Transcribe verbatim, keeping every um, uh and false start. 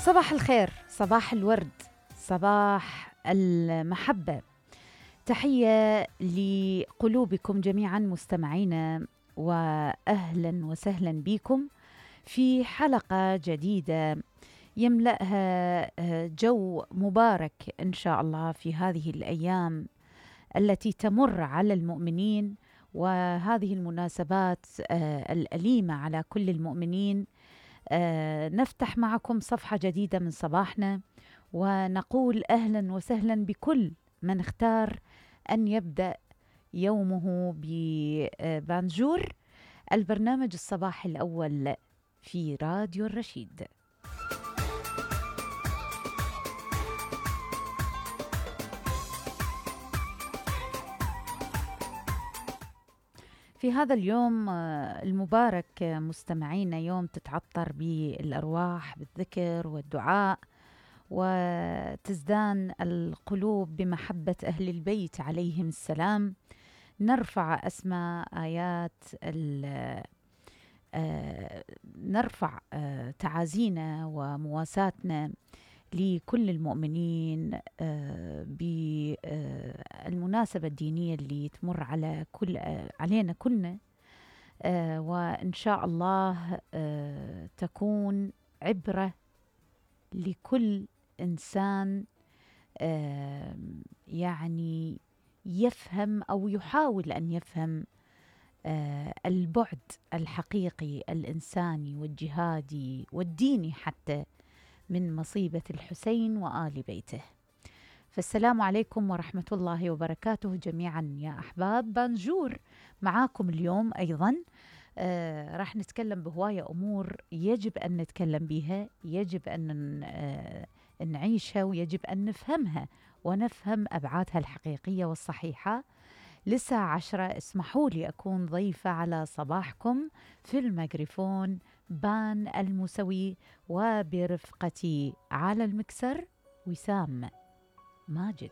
صباح الخير، صباح الورد، صباح المحبة. تحية لقلوبكم جميعا مستمعينا، وأهلا وسهلا بكم في حلقة جديدة يملأها جو مبارك إن شاء الله في هذه الأيام التي تمر على المؤمنين، وهذه المناسبات الأليمة على كل المؤمنين. آه نفتح معكم صفحة جديدة من صباحنا، ونقول أهلا وسهلا بكل من اختار أن يبدأ يومه ببانجور، البرنامج الصباحي الأول في راديو الرشيد. في هذا اليوم المبارك مستمعينا، يوم تتعطر بالأرواح بالذكر والدعاء، وتزدان القلوب بمحبة أهل البيت عليهم السلام. نرفع أسماء آيات نرفع تعازينا ومواساتنا لكل المؤمنين بالمناسبة الدينية اللي تمر على كل علينا كلنا، وإن شاء الله تكون عبرة لكل إنسان يعني يفهم أو يحاول أن يفهم البعد الحقيقي الإنساني والجهادي والديني حتى من مصيبة الحسين وآل بيته. فالسلام عليكم ورحمة الله وبركاته جميعا يا أحباب. بانجور معاكم اليوم أيضا. آه راح نتكلم بهواية أمور يجب أن نتكلم بها، يجب أن آه نعيشها، ويجب أن نفهمها ونفهم أبعادها الحقيقية والصحيحة. للساعة عشرة اسمحوا لي أكون ضيفة على صباحكم في الميكروفون بان الموسوي، وبرفقتي على المكسر وسام ماجد.